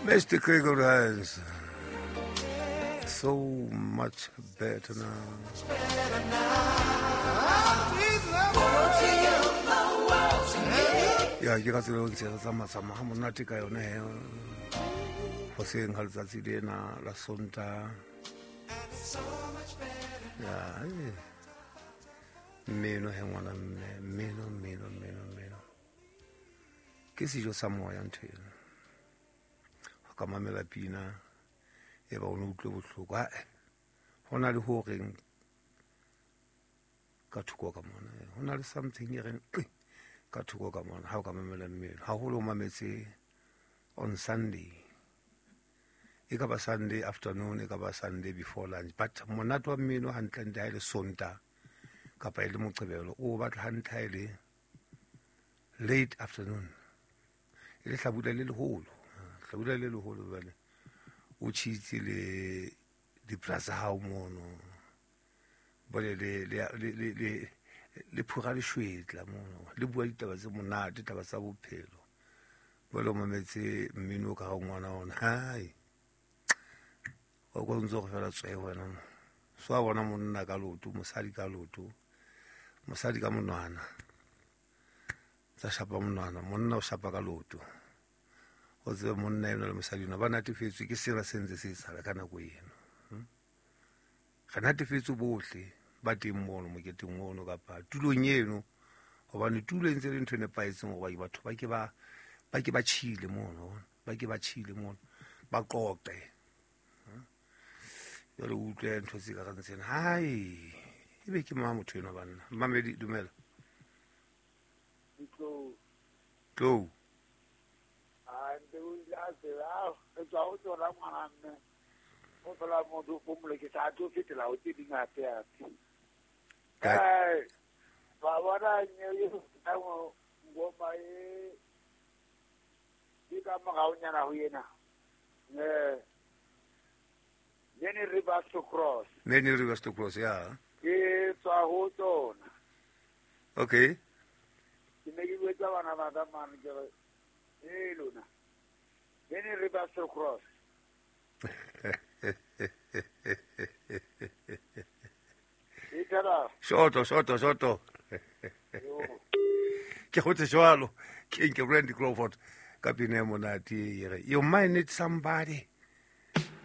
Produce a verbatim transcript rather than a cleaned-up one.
Mister Craig Hines, so much better now. Ya ke ka tsela ntse re tsamaya tsamaya ha monate ka yone he. Hoseng ha letsatsi lena la Sontaha. Ya, mmino he ngwana mme, mmino, mmino, mmino, mmino. Ke sejo sa moya ntho eno. Ha ka mamela pina e ba o no utlwe bohloko. Ha ho na le ho reng ka thoko ka mona. Ho na le something e reng ka thoko ka mona ha o ka mamela mmino. Haholo o mametse on Sunday. E ka ba Sunday afternoon, e ka ba Sunday before lunch. But monate wa mmino hantle-ntle ha e le Sontaha kapa e le Moqebelo, o batla hantle ha e le late afternoon. E le hlabula le leholo. Hlabula le leholo jwale. O tjhitse le dipra tsa hao mono. Bole le le le le le phura leshwetla mono. Le bua ditaba tse monate, ditaba tsa bophelo. Bole o mametse mmino ka ga ngwana ona. Hai. O go ntse go fela tswe wena. So a bona monna ka loto, mosadi ka loto. Mosadi ka monwana. Tsa shapa monwana, monna o shapa ka loto. O tsebe monna eno le mosadi eno ba natefetswe ke sena se ntse se etsahala ka nako eno. Re natefetswe bohle ba teng mono moketeng ono kapa tulong eno, hobane tulo e ntse le ntho e nepahetseng hore batho ba ke ba ba ke ba tjhile mono, ba ke ba tjhile mono, ba qoqe. Jwale o utlwe ntho tse ka reng tsena. Hai, ebe ke mang motho eno banna? Mamedi, dumela. Tlou. Tlou. Ah, ntse o ile a tseba, re tswa ho tsona ngwana mme. O fela motho o mo ke sa tlo fetela ho tse ding hape hape. Ai, ba bona nye e ngoma e ke ka moraonyana ho yena. Eh, Many rivers to cross. Many rivers to cross, yeah. Ke tswa ho tsona. Okay. Ke ne ke bua bana ba ka mane ke re, eh lona. Many rivers to cross. Itara. Shoto, shoto, shoto. Ke go tse jwalo. Ke nke Randy Crawford ka pina e monate e re, you might need somebody